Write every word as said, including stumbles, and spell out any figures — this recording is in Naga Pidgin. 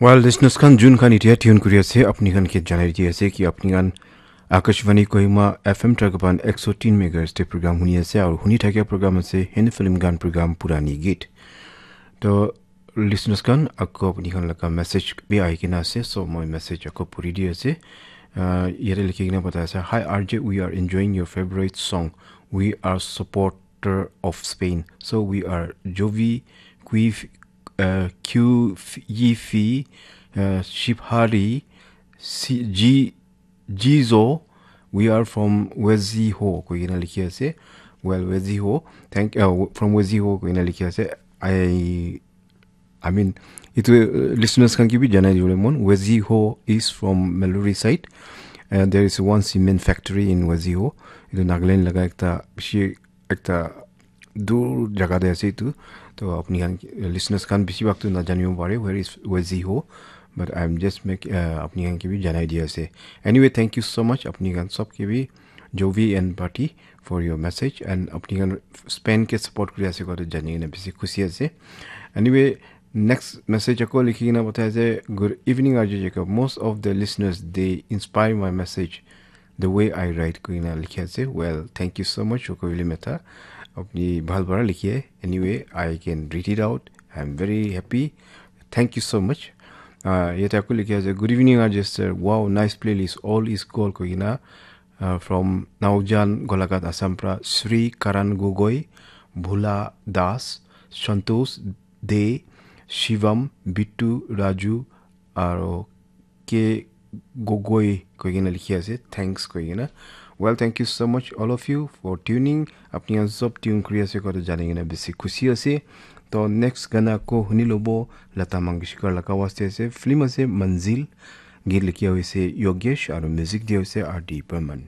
Well, listeners khan, jun khan itia tune kuri ase, apni khan ke janai di ase ki apni khan Akashvani Kohima F M Tragaban ek so tin megahertz te program huni ase, aru huni thakia program ase Hindi film gan program Purani Geet. To listeners khan, ako apni khan laga message bi ahi kena ase, so moi message ako puri di ase. Uh, yate likhi kena bata ase, "Hi R J, we are enjoying your favorite song. We are supporter of Spain. So we are Jovi, Quif, uh, Q, Yifi, uh, Shibhari, C, G, Jizo. We are from Weziho." Koi kena likhi ase. Well, Weziho. Thank, uh, from Weziho koi kena likhi ase. I I mean, itu uh, listeners khan ki bi janai dibole mon. Weziho is from Maluri side. And there is one cement factory in Weziho. Itu Nagaland laga ekta bishi ekta dur jaga te ase itu. To apni khan, listeners khan bishi bhag tu na janibo pare where is Weziho. But I'm just make uh, apni khan ki bi janai di ase. Anyway, thank you so much apni khan sob ki bi, Jovi and Party, for your message, and apni khan Spain ke support kuri ase koa tu jani kena bishi khushi ase. Anyway, next message ako likhi kena batai ase, "Good evening R J Jacob. Most of the listeners, they inspire my message the way I write," koi kena likhi ase. Well, thank you so much, Roko Vili Mehta. Apni bhal para likhi hai. Anyway, I can read it out. I'm very happy. Thank you so much. Uh, yate ako likhi ase, "Good evening R J sir. Wow, nice playlist. All is gold," koi kena. Uh, from Naujan, Golaghat, Assam pra Sri Karan Gogoi, Bhula Das, Santosh De, Shivam, Bittu, Raju, aro K Gogoi koi kena likhi ase, "Thanks," koi kena. Well, thank you so much all of you for tuning. Apni khan sob tune kuri ase koa tu jani kena bishi khushi ase. To next gana ko huni lobo, Lata Mangeshkar laga awaaz te ase. Film ase Manzil. Geet likhi hoise Yogesh aru music dia hoise R D Burman.